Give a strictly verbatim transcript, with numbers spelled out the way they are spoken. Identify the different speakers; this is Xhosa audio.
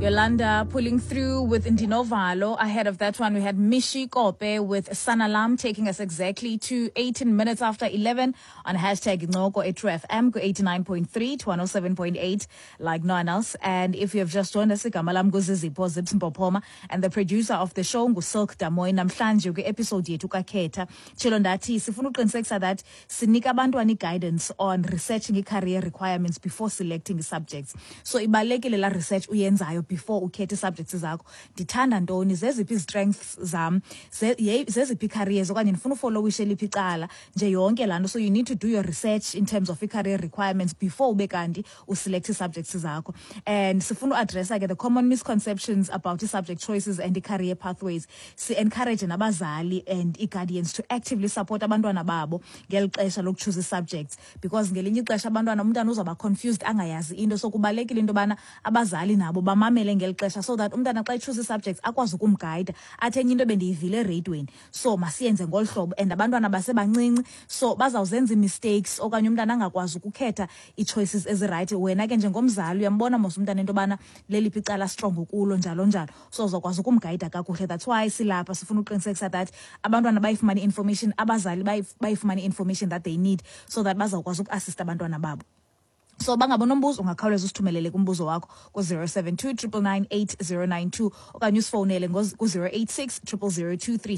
Speaker 1: Yolanda pulling through with Ndinovalo. Ahead of that one, we had Mishi Kope with Sanalam, taking us exactly to eighteen minutes after eleven on hashtag Incoko at True F M, eighty-nine point three to one oh seven point eight, like no one else. And if you have just joined us, igama lam nguZizipho Zips Mpopoma, and the producer of the show nguSilk Damoy. Namhlanje kwi-episode yethu kaKhetha, tshilo ndathi sifuna uqinisekisa that sinika abantwana i-guidance on researching i-career requirements before selecting i-subjects. So ibalulekile la research uyenzayo before ukhethe ii-subjects zakho. Ndithanda ntoni? Zeziphi ii-strengths zam? Ze- ye- zeziphi ii-careers okanye ndifuna ufollowishe liphi icala nje, yonke laa nto. So you need to do your research in terms of i-career requirements before ube kanti uselect ii-subjects zakho. And sifuna uaddressa ke the common misconceptions about i-subject choices and i-career pathways. Si-encourage nabazali and ii-guardians to actively support abantwana babo ngeli xesha lokuchoose ii-subjects, because ngelinye ixesha abantwana, umntana uzawuba confused, angayazi into. So kubalulekile into yobana abazali nabo bamamele ngeli xesha, so that umntana xa echoose ii-subjects akwazi ukumgayida, athi enye into bendiyivile ereyidweni, so masiyenze ngolu hlobo. And abantwana basebancinci, so bazawuzenza ii-mistakes okanye umntana angakwazi ukukhetha ii-choices ezirayithi. Wena ke njengomzali uyambona mos umntana into yobana leliphi icala strong kulo, njalo njalo, so uzawukwazi ukumgayida kakuhle. That's why silapha, sifuna uqinisekisa that abantwana bayifumane i-information, abazali bayif- bayifumane i-information that they need, so that bazawukwazi ukuassista abantwana babo. So bangaba nombuzo, ungakhawuleza usithumelele kumbuzo wakho ku-zero seven two, nine nine nine, eight zero nine two okanye usifowunele ku-zero eight six, zero zero zero two three.